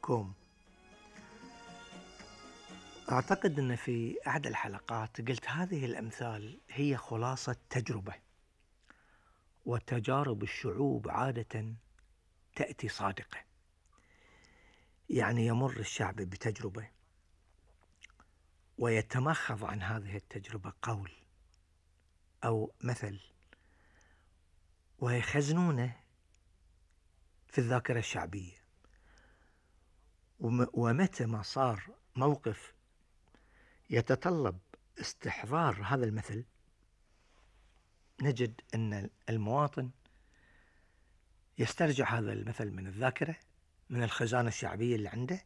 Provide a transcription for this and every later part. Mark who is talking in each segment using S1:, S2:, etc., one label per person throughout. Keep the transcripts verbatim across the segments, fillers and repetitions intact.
S1: كوم. أعتقد أن في أحد الحلقات قلت هذه الأمثال هي خلاصة تجربة، وتجارب الشعوب عادة تأتي صادقة. يعني يمر الشعب بتجربة ويتمخض عن هذه التجربة قول أو مثل ويخزنونه في الذاكرة الشعبية، ومتى ما صار موقف يتطلب استحضار هذا المثل نجد أن المواطن يسترجع هذا المثل من الذاكرة، من الخزانة الشعبية اللي عنده،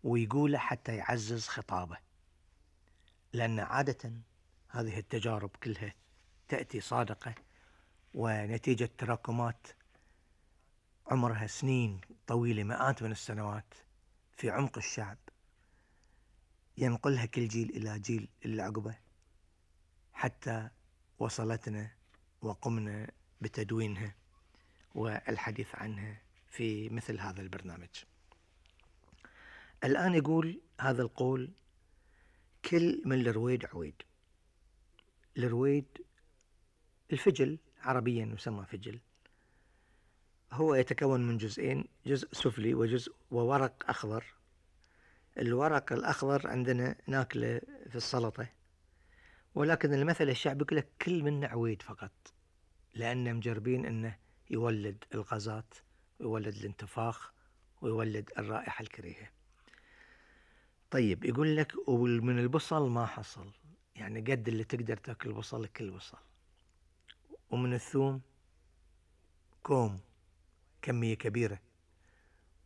S1: ويقوله حتى يعزز خطابه. لأن عادة هذه التجارب كلها تأتي صادقة ونتيجة تراكمات عمرها سنين طويلة، مئات من السنوات في عمق الشعب، ينقلها كل جيل إلى جيل اللي عقبه حتى وصلتنا وقمنا بتدوينها والحديث عنها في مثل هذا البرنامج. الآن يقول هذا القول: كل من الرويد عويد. الرويد الفجل، عربيا يسمى فجل، هو يتكون من جزئين، جزء سفلي وجزء وورق أخضر. الورق الأخضر عندنا ناكله في السلطة، ولكن المثل الشعبي يقول لك كل منه عويد فقط، لأنه مجربين أنه يولد الغازات ويولد الانتفاخ ويولد الرائحة الكريهة. طيب يقول لك ومن البصل ما حصل، يعني قد اللي تقدر تأكل بصل كل بصل. ومن الثوم كوم، كمية كبيرة.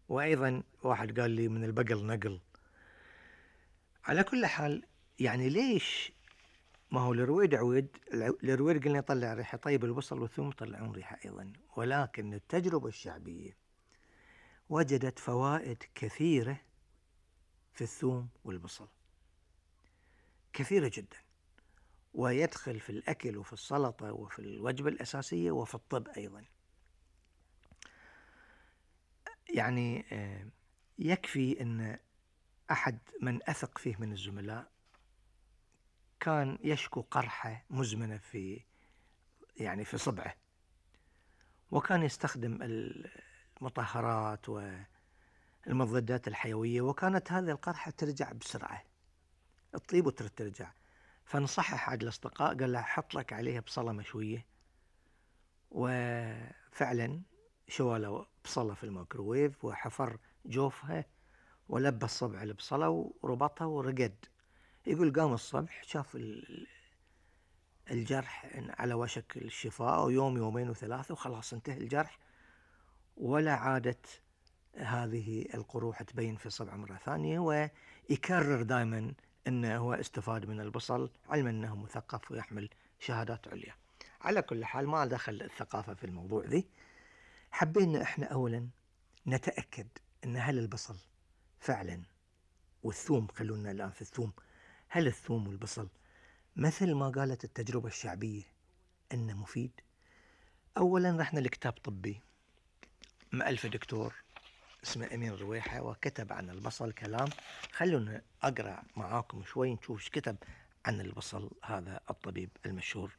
S1: وأيضا واحد قال لي من البقل نقل. على كل حال يعني ليش؟ ما هو الرويد عويد، الرويد قلنا يطلع ريحة، طيب البصل والثوم يطلعون ريحة أيضا، ولكن التجربة الشعبية وجدت فوائد كثيرة في الثوم والبصل، كثيرة جدا، ويدخل في الأكل وفي السلطة وفي الوجبة الأساسية وفي الطب أيضا. يعني يكفي أن أحد من أثق فيه من الزملاء كان يشكو قرحة مزمنة في يعني في صبعه، وكان يستخدم المطهرات والمضادات الحيوية، وكانت هذه القرحة ترجع بسرعة، تطيب وترجع. فنصحح أحد الأصدقاء قال له حط لك عليها بصلة مشوية، وفعلا شوى له بصلة في الميكروويف وحفر جوفها ولبى الصبع البصلة وربطها ورقد. يقول قام الصبح شاف الجرح على وشك الشفاء، ويوم يومين وثلاثة وخلاص انتهى الجرح، ولا عادت هذه القروح تبين في الصبع مرة ثانية. ويكرر دائما أنه هو استفاد من البصل، علما أنه مثقف ويحمل شهادات عليا. على كل حال ما دخل الثقافة في الموضوع ذي. حبينا إحنا أولا نتأكد أن هل البصل فعلا والثوم، خلونا الآن في الثوم، هل الثوم والبصل مثل ما قالت التجربة الشعبية أنه مفيد؟ أولا رحنا لكتاب طبي مؤلف دكتور اسمه أمين رويحة، وكتب عن البصل كلام. خلونا أقرأ معاكم شوي نشوف ايش كتب عن البصل هذا الطبيب المشهور.